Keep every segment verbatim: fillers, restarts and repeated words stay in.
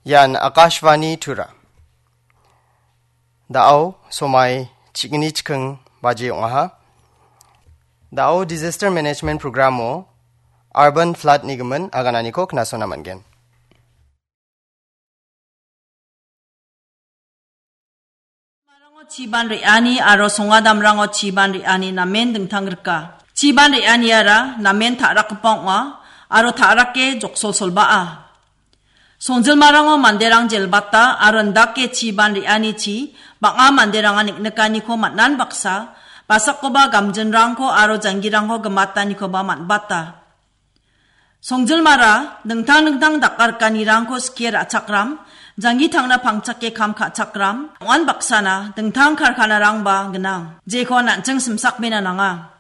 Ian Akashvani Tura. Da·o somai chigni chikking baji ong·aha. Da·o Disaster Management Programo Urban Flood nigimin agananiko knasona man·gen. Marango chiban re·ani aro songadamrango chiban re·ani namen dingtang rika. Chiban re·aniara namen ta·rakgipa ong·a aro ta·rake joksolsolbaa. Songjilmarango manderang jelbata aro indake chiban re·anichi bang·a manderangan neng·nikaniko man·an baksa, basakoba gamjinrangko aro janggirangko gimatanikoba man·bata. Songjilmara dingtang dingtang dakarikanirangko skie ra·chakram, janggi tangna pangchake kam ka·chakram, ong·an baksana dingtang karkanarangba gnang, jeko an·ching simsakbena nanga.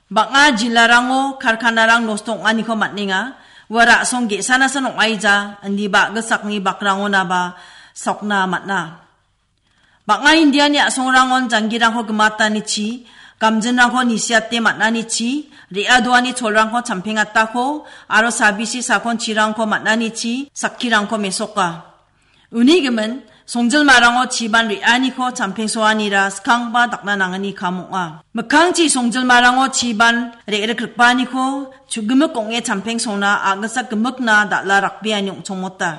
Bang·a jilarango karkanarang nosto ong·aniko man·enga, ua ra·song ge·sanasan ong·aija, indiba a·gisakni bakrangonaba sokna man·a. Bang·a Indiani a·songrangon janggirangko gimatanichi, gamjinrangko nisiate man·anichi, re·adoani cholrangko champengatako, aro sabisi sakonchirangko man·anichi, sakkirangko mesoka. Uni gimin, songjilmarango chiban re·aniko champengsoanira skangba dakna nangani kam ong·a. Mikkangchi songjilmarango chiban re·rikripaniko chugimik ong·e champengsona a·gisa gimikna dal·a rakbeani ong·chongmota.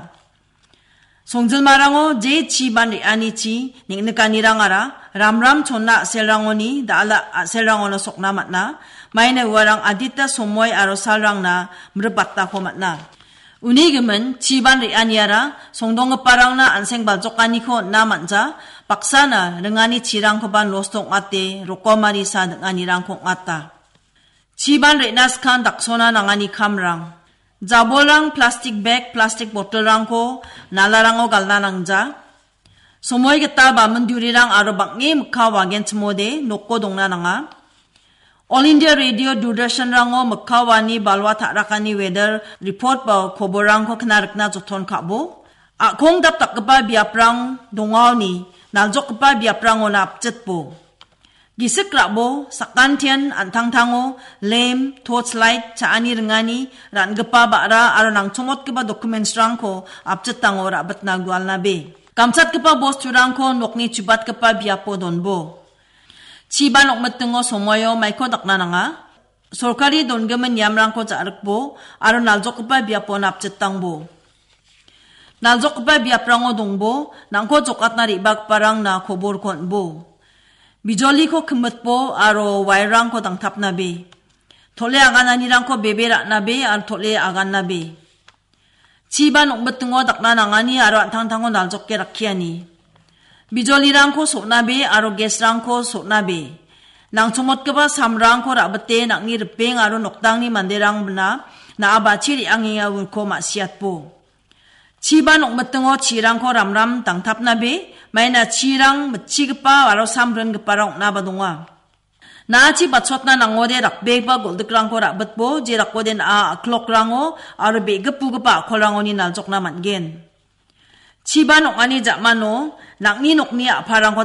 Songjilmarango je chiban re·anichi neng·nikanirangara ramram chonna a·selrangoni dal·a a·selrangono sokna man·a. Maina uarang adita somoi aro salrangna mribatako man·a. Uni gimin chiban re·aniara songdonggiparangna an·seng baljokaniko on·a man·ja, baksana ringani chirangkoba nosto ong·ate rokomari sa ding·anirangko ong·ata. Chiban re·na skang daksona nangani kamrang. Jabolrang plastik bag, plastik botolrangko nalarango galna nangja. Somoi gita bamindurirang aro bang·e mikka wagenchimode noko dongna nanga. All India Radio Doordarshanrango mikka wani balwa ta·rakani weather report ba koborrangko kna rikna joton ka·bo. A·kong dapdakgipa biaprang dongaoni naljokgipa biaprangona apchitbo. Gisik ra·bo, sakantian an·tangtango lem, torch light, cha·ani ringani, ra·ngipa ba·ra aro nangchongmotgipa documents-rangko apchitango ra·bitna gualnabe. Gamchatgipa bosturangko nokni chubatgipa biapo donbo. Chiban ong·mitingo somoio maiko dakna nanga. Sorkari dongimin niamrangko ja·rikbo aro naljokgipa biapo napchitangbo. Naljokgipa biaprango dongbo, nangko jokatna re·bagiparangna koborko on·bo. Bijoliko kimitbo aro wairrangko dangtapnabe. Tole agananirangko bebe ra·nabe aro tole agannabe. Chiban ong·mitingo dakna nangani aro an·tangtango naljoke rakkiani. Bijolirangko so·nabe aro gas-rangko so·nabe. Nangchongmotgipa samrangko ra·bite nang·ni ripeng aro noktangni manderangna na·a bachi re·angenga uko ma·siatbo. Chiban ong·mitingo chirangko ramram dangtapnabe, maina chirang mitchigipa aro samringiparang ong·naba donga. Na·achi bachotna nangode rakbegipa goldikrangko ra·bitbo, je rakode na·a a·klokrango aro be·gipbugipa a·kolrangoni naljokna man·gen. Chiban ong·ani ja·mano nang·ni nokni a·palrangko